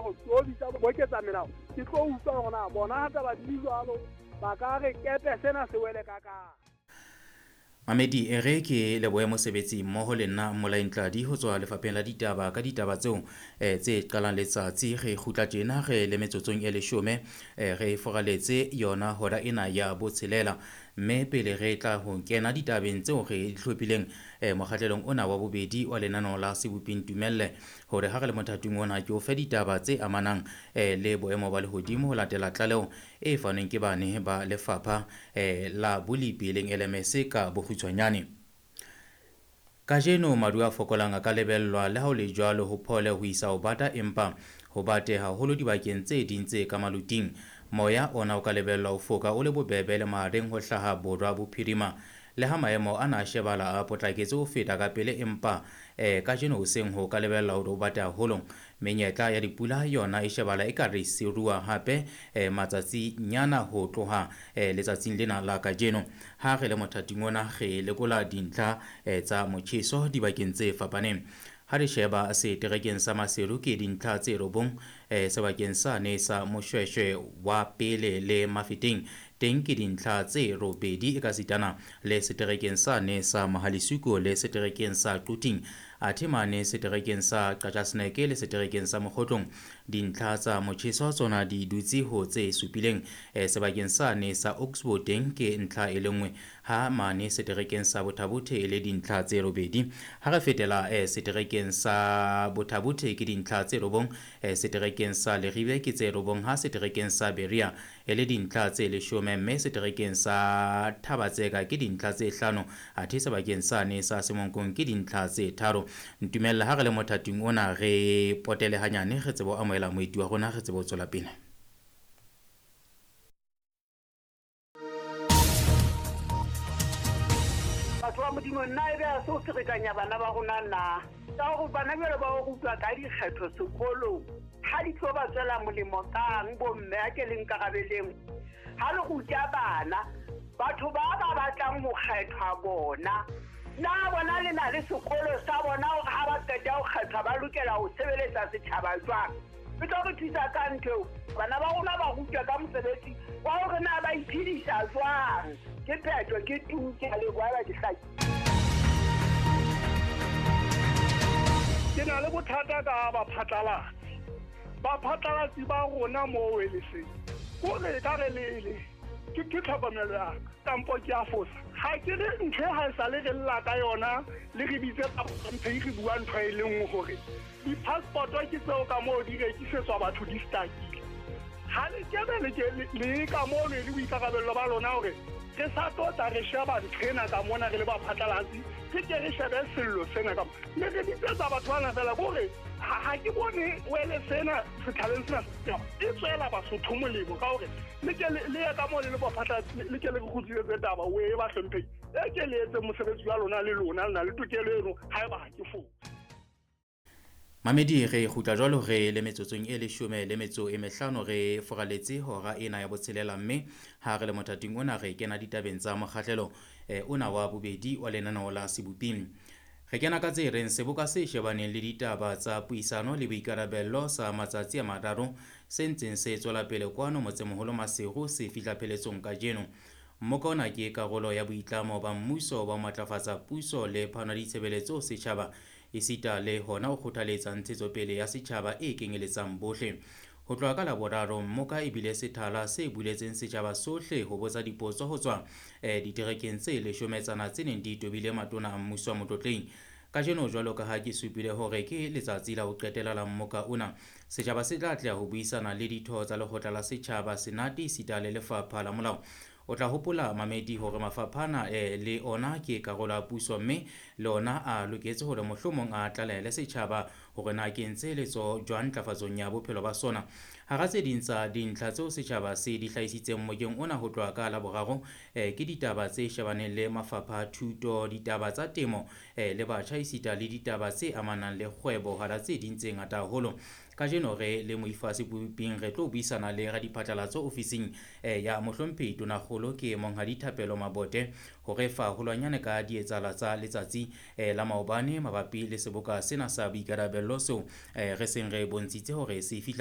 Hore ke o bitsa boketsa melao, ke tlo utlwa hore na bona ha taba di jwalo ba ka re kepe sena se wele ka kae. Mamedi e re ke lebohe mosebetsi mmoho le nna Mmolaing Tladi ho tswa lefapheng la ditaba ka ditaba tseo tse qalang letsatsi. Re kgutla tjena re le metsotsong e 10, re foraletse yona hora ena ya botshelela. Mme pele re tla ho kena ditabeng tseo re di hlophileng mokgahlelong ona wa bobedi wa lenaneo la Seboping Tumelle, hore ha re le mothating ona ke o fe ditaba tse amanang le boemo ba lehodimo ho latela tlaleho e fanweng ke bane ba lefapha la bolepi leng LMS ka bokgutshwanyane. Kajeno maru a fokolang a ka lebellwa, le ha ho le jwalo ho phole ho isa ho bata, empa ho bate haholo dibakeng tse ding tse ka maluting. Moya ona o ka lebellwa ho foka o le bobebe le mahareng ho hlaha borwa bophirima. Le ha maemo ana a shebala a potlaketse ho feta ka pele, empa kajeno hoseng ho ka lebella hore o bate haholo. Menyetla ya dipula yona e shebala e ka re siruwa hape matsatsinyana ho tloha letsatsing lena la kajeno. Ha re le mothating ona re lekola dintlha tsa motjheso dibakeng tse fapaneng. Ha re sheba seterekeng sa Maseru ke dintlha tse 9, sebakeng sane sa Moshweshwe wa pele le Mafeteng teng ke dintlha tse 8, ekasitana le seterekeng sane sa Mohalisuko le seterekeng sa Quthing, athe mane seterekeng sa Qachaseneke le seterekeng sa Mokgotlong dintlha tsa motjheso tsona di dutse ho tse 7. Sebakeng sane sa Oxbow teng ke ntlha e le nngwe, ha mane seterekeng sa Bothabothe e le dintlha tse 8. Ha re fetela seterekeng sa Bothabothe ke dintlha tse 9, seterekeng sa Leribe ke tse 9, ha seterekeng sa Berea e le dintlha tse 10, mme seterekeng sa Thabatseka ke dintlha tse 5, athe sebakeng sane sa Semonkong ke dintlha tse 3. Ntumella ha re le mothating ona re potele hanyane, re tsebe ho amohela moeti wa rona, re tsebe ho tswela pele. Batho ba Modimo, nna ebe ha se ho ferekanya bana ba rona na? Ka hore bana jwale ba o rutwa ka dikgetho sekolong, ha di tlo ba tswela molemo kang bomme? A ke le nkarabeleng. Ha le ruta bana, batho ba ba batlang ho kgethwa bona, na bona le na le sekolo sa bona hore ha ba qeta ho kgethwa ba lokela ho sebeletsa setjhaba jwang? E tlo re thusa ka ntho eo. Bana ba rona ba rutwa ka mosebetsi wa hore na ba iphedisa jwang. Ke phetho, ke tu, ke a leboha, ba ke hlakile. Ke na le bothata ka baphatlalatsi. Baphatlalatsi ba rona moo e le seng. Kore ka re le ke tlhokomelo ya ka, kampo ke a fosa. Ha ke re ntho e ha e sale re lla ka yona, le re bitse tsa mphe re bua ntho e le nngwe hore di-passport-o ke tseo ka moo di rekisetswa batho di stakile. Ha le kebe le ke le ka moo le le boikarabello ba lona hore re sa tlo tla re sheba ntho ena ka mona re le baphatlalatsi, re ke re shebe sello sena ka mona. Mme re bitsetsa batho bana fela ke hore ha ke bone wele sena setjhabeng sena e tswela Basotho molemo ka hore le ke le ye ka moo le le baphatlalatsi, le ke le re kgutlisetse taba o e ba hlompheng. E ke le etse mosebetsi wa lona le lona, le na le tokelo eno haeba ha ke fose. Mamedi, re kgutla jwalo re le metsotsong e 15 re foraletse hora ena ya botshelela, mme ha re le mothating ona re kena ditabeng tsa mokgahlelo ona wa bobedi wa lenaneo la Seboping. Re kena ka tse reng seboka se shebaneng le ditaba tsa puisano le boikarabello sa matsatsi a 3 se ntseng se tswela pele kwano motsemoholo Maseru se fihla pheletsong kajeno. Mmoka ona ke karolo ya boitlamo ba mmuso ba ho matlafatsa puso le phano ya ditshebeletso setjhaba, esita le hona ho kgothaletsa ntshetsopele ya setjhaba e kenyeletsang bohle. Ho tloha ka Laboraro, mmoka e bile sethala se buletseng setjhaba sohle ho botsa dipotso ho tswa diterekeng tse 10 tse neng di tobile matona a mmuso wa motlotleng. Kajeno jwalo ka ha ke supile hore ke letsatsi la ho qetela la mmoka ona, setjhaba se tla atleha ho buisana le ditho tsa lekgotla la setjhaba, senate esita le lefapha la molao. O tla hopola mamedi hore mafapha ana le ona ke karolo ya puso, mme le ona a loketse hore mohlomong a tlalehele setjhaba hore na ke ntse letsoho jwang ntlafatsong ya bophelo ba sona. Hara tse ding tsa dintlha tseo setjhaba se di hlahisitseng mmokeng ona ho tloha ka Laboraro, ke ditaba tse shebaneng le mafapha a thuto, ditaba tsa temo, le batjha esita le ditaba tse amanang le kgwebo hara tse ding tse ngata haholo. Kajeno re le moifo wa Seboping re tlo buisana le radiphatlalatso ofising ya mohlomphehi Tonakgolo ke Monghadi Thapelo Mabote ho re fa holwanyane ka dietsala tsa letsatsi la maobane mabapi le seboka sena sa boikarabello seo re seng re bontshitse hore se fihla